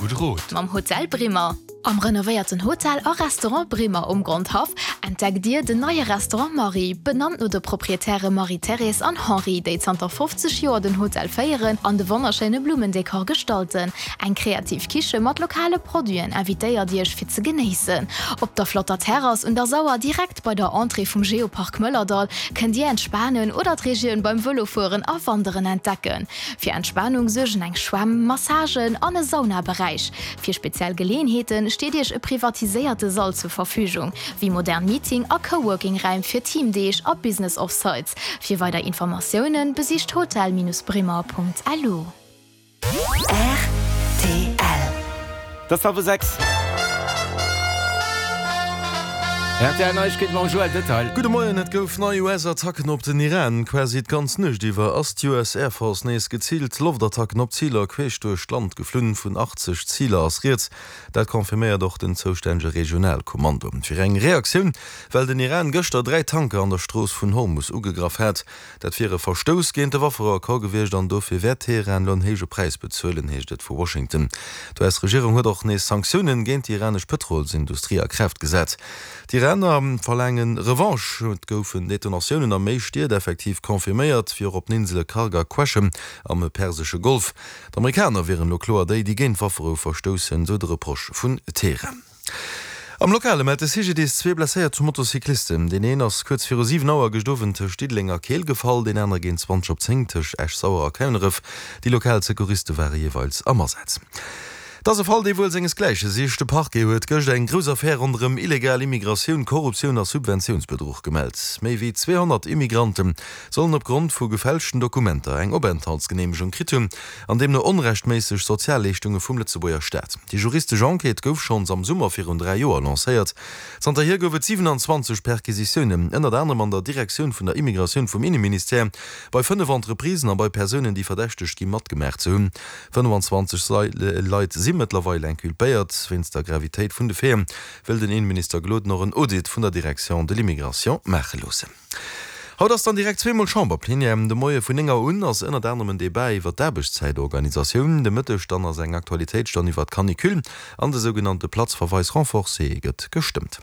Gudde Rot. Mam Hotel Brimmer. Am renovéierten Hotel a Restaurant Brimmer um Grondhaff entdeckt Dir den neie Restaurant Marie, benannt no de Proprietäre Marie-Thérèse an Henri, déi zanter 50 Joer den Hotel féieren an de wonnerschéine Blummendekor gestalten. Eng kreativ Kiche mat lokale Produiten invitéiert Iech fir ze genéissen. Op der flotter Terrass un der Sauer, direkt bei der Entrée vum Geopark Mëllerdall, kënnt Dir entspanen oder d'Regioun beim Vëlofueren a Wanderen entdecken. Fir Entspanung suergen eng Schwämm, Massagen an e Saunaberäich. Fir speziell Geleeënheete steet Iech e privatiséierte Sall zur Verfügung, wéi modern Meeting a Coworking-Räim fir Teamdeeg a Business Offsites. Fir weider Informatioune besicht hotel-brimmer.lu. Rtl. Et ass hallwer 6. Rtl Neiegkeete mam Joël Detail. Gudde Moien, Et gouf nei US-Attacken op den Iran. Quasi d'ganz Nuecht iwwer ass d'US Air Force nees geziilt Loftattacken op Ziler queesch duerch d'Land geflunn. Vun 80 Ziler ass rieds. Dat confirméiert och den zoustännege Regionalkommando. Fir eng Reaktioun, well den Iran gëschter 3 Tanker an der Strooss vun Hormus ugegraff hat. Dat wier e Verstouss géint de Wafferouaccord gewiescht an dofir wäert Teheran elo en héije Präis bezuelen, heescht et vu Washington. D'US-Regierung huet och nees Sanktiounen géint déi iranesch Pëtrolsindustrie a Kraaft gesat. D'Iraner verlaange Revanche. Et goufen Detonatiounen a méi Stied effektiv confirméiert, wéi och op den Insele Kharg a Qeshm am persesche Golf. D'Amerikaner wieren elo kloer déi, déi géint d'Wafferou verstoussen, sou de Reproche vun Teheran. Am Lokale mellt de CGDIS zwee blesséiert Motocyclisten. Deen een ass kuerz viru 7 Auer gëscht Owend tëscht Diddeleng a Keel gefall, deen anere géint 20 op 10 tëscht Esch-Sauer a Kouneref. Déi lokal Secouriste ware jeeweils am Asaz. Et ass e Fall, dee wuel sengesgläiche sicht. De Parquet huet gëscht eng grouss Affär ronderëm illegal Immigratioun, Korruptioun a Subventiounsbedruch gemellt. Méi wéi 200 Immigrante sollen opgrond vu gefälschten Dokumenter eng Openthaltsgeneemegung kritt hunn. An deemno onrechtméisseg Sozialleeschtunge vum Lëtzebuerger Staat. Déi juristesch Enquête gouf schonns am Summer virun 3 Joer lancéiert. Zanterhier gouf et 27 Perquisitiounen, ënnert anerem an der Direktioun vun der Immigratioun vum Inneministère, bei 5 Entreprisen a bei Persounen, déi verdächtegt gi matgemaach ze hunn. 25 Leit si mëttlerweil inculpéiert. Wéinst der Gravitéit vun de Faiten wëll den Inneminister Gloden och en Audit vun der Direction de l'immigration maache loossen. Haut ass dann direkt zweemol Chamberplenière. De Moie vun 9 Auer un ass ënnert anerem en Debat iwwer d'Aarbechtszäitorganisatioun. De Mëtteg dann ass eng Aktualitéitsstonn iwwer d'Canicule an de sougenannte Platzverweis renforcé gëtt gestëmmt.